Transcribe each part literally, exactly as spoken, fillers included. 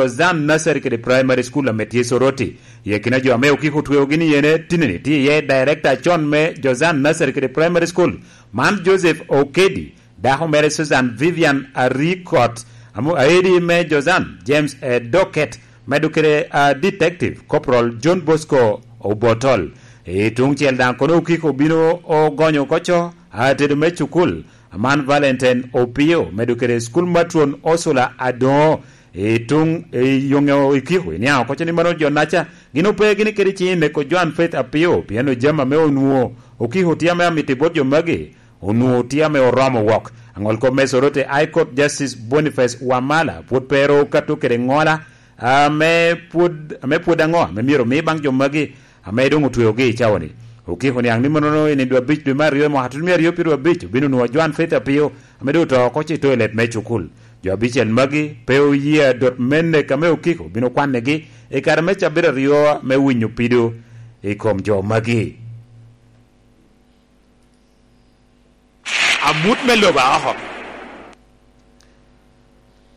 Jozan Nursery kede Primary School ame tye Soroti. I akina jo ame okiko otweogi ni ene tinni tye iye director acon me Jozan Nursery kede Primary School, man Joseph Okedi, dako mere Susan Vivian Arikot, amu aedi me Jozan James Edoket, medo kede a Detective Corporal John Bosco Obotol. I tuŋ cel daŋ kono okiko obino ogonyo oko co atedo me cukul, aman Valentine Opio, medo kede school matron Ursula Adoŋo. I tuŋ i yoŋe okiko iniaŋ oko co ni mano jo naca gin ope gini kede ciŋ i neko Joan Faith Apio, pien ojami ame onwoŋo okiko tye ame amito i bot jo magi, onwoŋo tye ame oromo wok. Aŋol kop me Soroti High Court Justice Boniface Wamala pwod pe ero okato kede ŋola ame pwod, ame pwod aŋo ame myero omi baŋ jo magi ame doŋ otweogi i cawa-ni. Okiko niaŋ ni mannono i nino abic dwe me aryo i mwaka tutumia aryo pyeraryo abic obino nwoŋo Joan Faith Apio ame doŋ oto oko i toilet me cukul. Jo abicel magi pe oye adot me nek ame okiko obino kwannegi i kare me cabit aryo me winyo pido i kom jo magi. Amut me lobo aoko.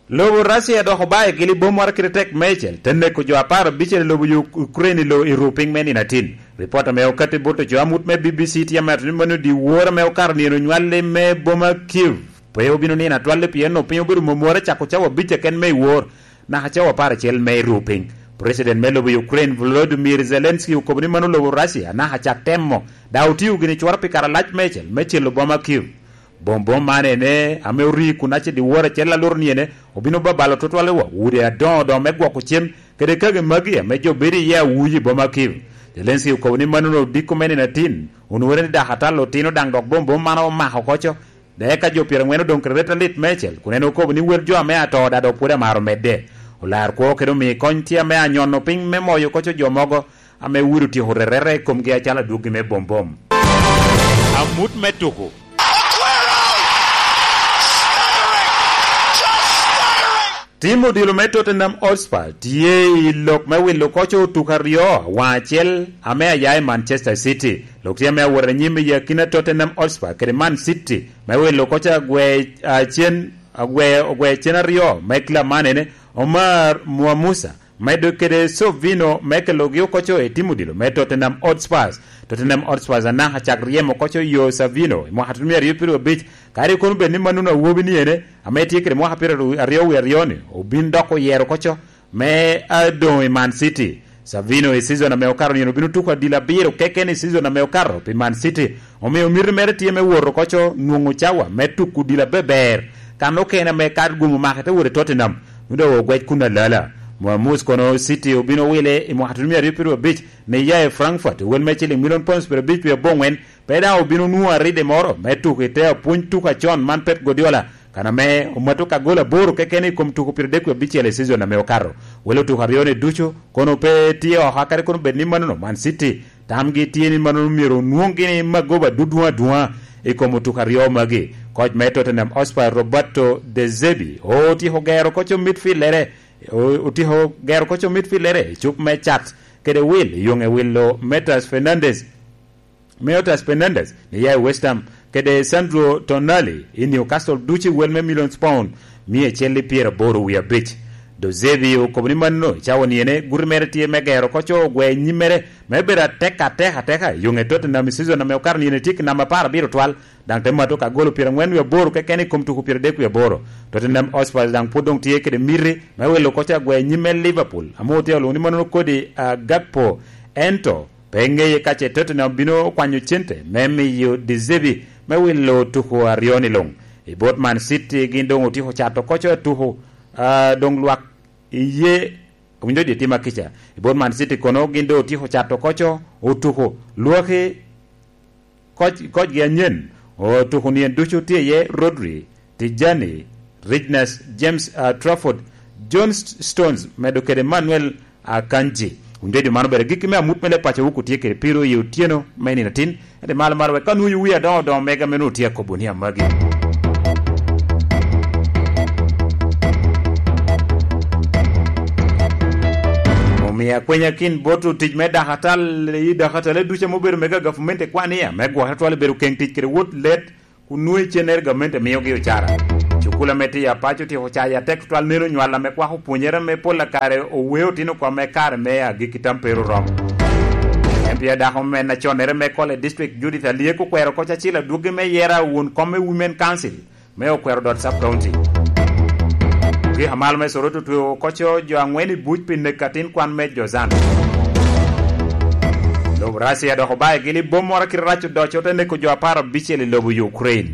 Lobo Russia dok obayo gili bom moro kede tek mecel, te neko jo apar abicel i lobo Uk-, Ukraine i lo-, i ru piny me nino atin. Ripot ame okatti bot oco amut me B B C tye amito ni mano dyewor ame okato nino onywalli me boma Kiev pe obino nino atwalli, pien onwoŋo piny obedo momore cako cawa abic keken me i wor naka cawa apar acel me i ru piny. President me lobo Ukraine Volodymyr Zelensky okobo ni mano lobo Russia naka cak temo, daŋ otio gini cwara pi kare alac mecel me celo boma Kiev. Bom bom man ene ame ori kun acel dyewor acel aluro ni ene obino babalo tutwal i wa udi adoŋo doŋo me gwoko cem kede kagi magi ame jo bedo iye awuji i boma Kiev. Zelensky okobo ni mano odiko me nino atin, onwore ni dak atal otino daŋ dok bom bom man omako oko co. Dok eka jo pyerangwen odoŋ kede ret alit mecel, kun en okobo ni wel jo ame ato daŋ dok pwod amaro medde. Olar kwo kede omi kony tye ame anyono piny me moyo oko co jo mogo ame wiro tyeko rerere i komgi acalo adwoggi me bom bom. Amut me tuko. Tim odilo me Tottenham Hotspur tye i lok me wilo koco otuko aryo, waŋ acel ame aya i Manchester City. Lok tye ame awot anyim i akina Tottenham Hotspur kede Man City me wilo koco agwe acen, agwe, ogwe cen aryo me club man ene Omar Muamusa medo kede Sovino me kelogi oko co i tim odilo me Tottenham Hotspurs. Tottenham Hotspurs anaka cak ryemo oko co yo Savino i mwaka tutumia aryo pyeraryo abic, kadi kono bed ni mannono awobi ni ene ame tye kede mwaka pyeraryo wie aryo-ni obin dok oyero oko co me adoŋ i Man City. Savino i season ame okato nino obino tuko adilo abiro keken i season ame okato pi Man City, omio miti mere tye me wot oko co nwoŋo cawa me tuko odilo abeber. Kan okene ame kad gum omako te wot i Tottenham, nwoŋo doŋ ogwec kun alala. Muamus kono City obino wile i mwaka tutumia aryo pyeraryo abic ni ya i Frankfurt, wel me ciling milion pounds pyeraryo abic wie aboŋwen, pe daŋ obino nwoŋo aride moro me tuko i te apwony tuko acon man Pep Guardiola, kan ame omato ka gol aboro keken i kom tuko pyeradek wie abicel i season ame okato. Wel otuko aryo-ni ducu kono pe tye oko, kadi kono bed ni mannono Man City tamgi tye ni mannono myero onwoŋ gini magoba dudwoŋ adwoŋa i kom otuko aryo magi. Koc me Tottenham Hotspur Roberto De Zerbi otyeko gero koco midfieldere, o-, otyeko gero koco midfieldere i cup me cat kede wil, yoŋe wilo Metas Fernandes, Metas Fernandes ni ya i West Ham, kede Sandro Tonali i Newcastle ducu i wel me millions pound mia acel i pyeraboro wie abic. De Zerbi okobo ni manno i cawa niene guti mere tye me gero koco ogwe nyimmere me bedo atek atek ateka i yoŋe Tottenham i season ame okato niene tye ki namba apar abiro twal, daŋ te mato ka golo pyerangwen wie aboro keken i kom tuko pyeradek wie aboro. Tottenham Hotspur daŋ pwod doŋ tye kede miti me wilo koco agwe nyimme Liverpool, ame otye olwoŋo ni manno kodi, ah, Gakpo. Ento pe ŋeye ka ce Tottenham bino kwanyo cente me miyo De Zerbi me wilo tuko aryo-ni luŋ. I bot Man City gin doŋ otyeko cato koco tuko, ah, doŋ lwak iye owinjo jo tima kica. I bot Man City kono gin doŋ otyeko cato koco otuko lwaki koc-, kocgi anyen. Otuko nien ducu tye iye Rodri, Tijani, Regis James, ah, Trafford, John St-, Stones, medo kede Manuel Akanji. Wun jo, jo man obedo agikki me amut me leb paco wok otye kede piro i otyeno me nino atin. Ento malo malo wek ka nwoyo wi adoŋo odoŋo mega me nwoŋo tye akobo ni amagi. Omio akwenya kin bot otic me dakatal i dakatale ducu ame obedo mega gavumenti kwan iya me gwok atwal obedo keŋ tic kede wot let kun nwoŋo icennere gamente miogi ocara. Kula me tiyo apac otyeko cayo atek tutwal, neno nywal ame kwako pwonyere me pol akare oweo tino kome kare me agikki tam pe ru rom. M P a dako me naconnere me Kole District, Judith Alyek, okwero oko Acil adwoggi me yera won kom me Women Council me Okwero Dot Sub County. Ogik amal me Soroti otweo oko jo angwen i buc pi nek atin kwan me Jozan. Lobo Russia dok obayo gili bom moro kite rac odoco, ote neko jo apar abicel i lobo Ukraine.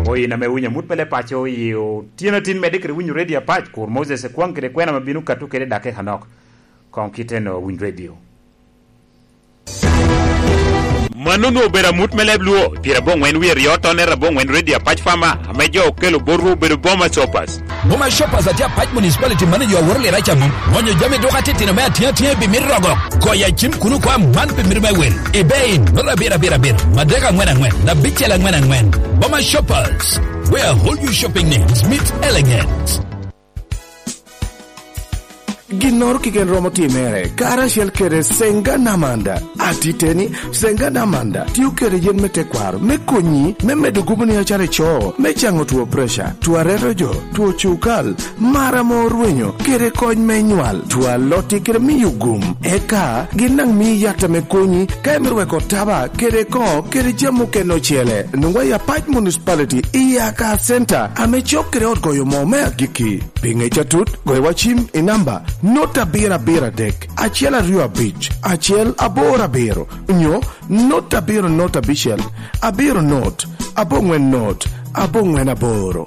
Oyin ame winyo amut me le paco i otyeno atin medde kede winyo redio apac, kur Moses Ekwang kede kwena ma bino kato kede dakika nok. Koŋ kite no winy redio. Mano onwoŋo obedo amut me leb Luo, pire aboŋwen wie ryo tonere aboŋwen redio apac Fama, ame jo okelo botwu obedo Boma Shoppers. Boma Shoppers atye apac municipality mano jo aworo lira ca mom. Ŋonyo jami duka titino me atina atina i bimit rogo. Goyo acim kuno kwa man bimit me wel. Ibein, nota abiro abiro abiro, madek aŋwen aŋwen, abicel aŋwen aŋwen. Boma Shoppers, where all your shopping needs meet elegance. Ginnoro keken romo timere, karacel kede Senga Namanda. Atiteni, Senga Namanda tio kede yen me tekwaro me konyi me medo guboni acalo ico, me caŋo two preca, two areto jo, two cukal, mar ame orwenyo, kede kony me nywal, two alotti kede miyo gum. Eka gin daŋ mii yat ame konyi ka imito weko taba kede koŋo kede jami okene ocele. Nwoŋwa i Apac Municipality i Yaka Center ame cok kede ot goyo moo me agikki. Pi ŋec atut, goyo wa cim i namba not abiro abiro adek, acel aryo abic, acel aboro abiro, nyo not abiro not abicel, abiro not, aboŋwen not, aboŋwen aboro.